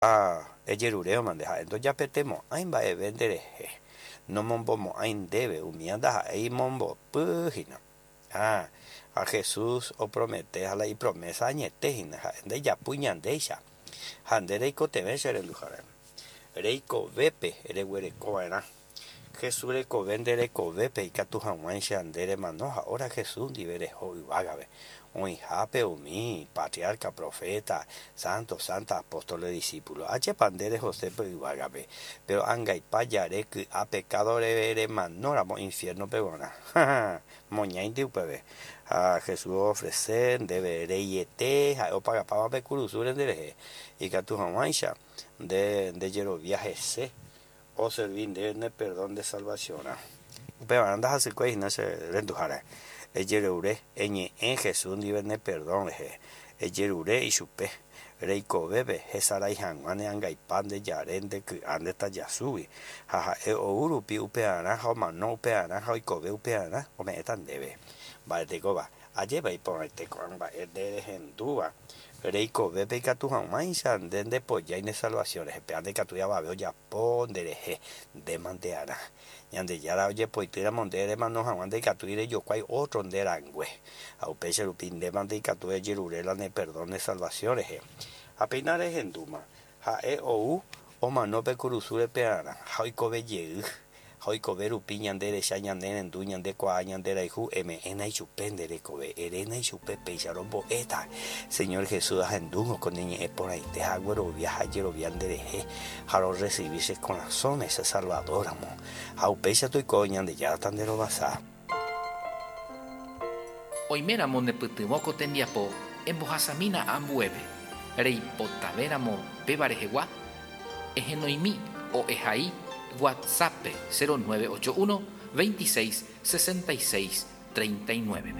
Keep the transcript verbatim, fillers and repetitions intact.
Ha ejerurévomante ha'e ndojapetemo'ãi mba'eve nderehe, nomombomo'ãi ndéve umíva ndaha'éi mombopýhina. Ha, ha Jesús opromete ha la ipromesa añetehína ha'e ndejapúi ñandéicha ha nde reikotevẽ che renduhára. Reikovépe reguerekova'erã. Jesús rekove nde rekovépe ikatu hag̃uáicha nde remano ha ora Jesús ndive reho yvágape. Oĩhápe umi patriarca, profeta, santo, santa, apóstoles, discípulos. Ajépa nde rehosépe yvágape. Pero angaipa jare ky'a pecado remanóramo infierno-pe g̃uarã. Moñáinte upépe. Ha Jesús ofrece ndéve reiete ha'e opagapáva pe kurusúre nderehe. Ikatu hag̃uáicha nde ndejerovia hese oservi ndéve ne perdón de salvación-rã. Upevarã ndahasykue hína che renduhára. Ejerure eñe'ẽ Jesús ndive ne perdón rehe. Ejerure ichupe. Reikovépe hesarái hag̃ua ne angaipa ndejare ndeky'a ndetajasúgui. Ha ha'e ou rupi upearã ha omano upearã ha oikove upearã ome'ẽta ndéve. Mba'etekóva ajépa iporãite ko'ã mba'e nderehendúva reikovépe ikatu hag̃uáicha nde ndepojái ne salvación rehe. Péva ndaikatúi avave ojapo nderehe ndemante'arã. Ñandejára ojepoitýramo nde remano hag̃ua ndaikatúi rejokuái otro nde rangue. Ha upéicha rupi ndémante ikatu ejerure la ne perdón ne salvación rehe. Ha péina rehendúma ha'e ou omano pe kurusúre pearã ha oikove jey. Ha oikove rupi ñande recha ñane rendu ñande kuaa ñande rayhu eme'ẽna ichupe nde rekove eréna ichupe péicha rombo'éta. Señor Jesús ahendúngo ko ne ñe'ẽ porãite ha aguerovia ha ajerovia nderehe ha rorecibi che korasõme che Salvador-ramo. Ha upéicha toiko Ñandejára nderovasa. Oiméramo nepytyvõ ko tembiapo embohasamína ambuépe. Reipotavéramo péva rehegua ehenoimi o ehai WhatsApp cero nueve ocho uno veintiséis sesenta y seis treinta y nueve.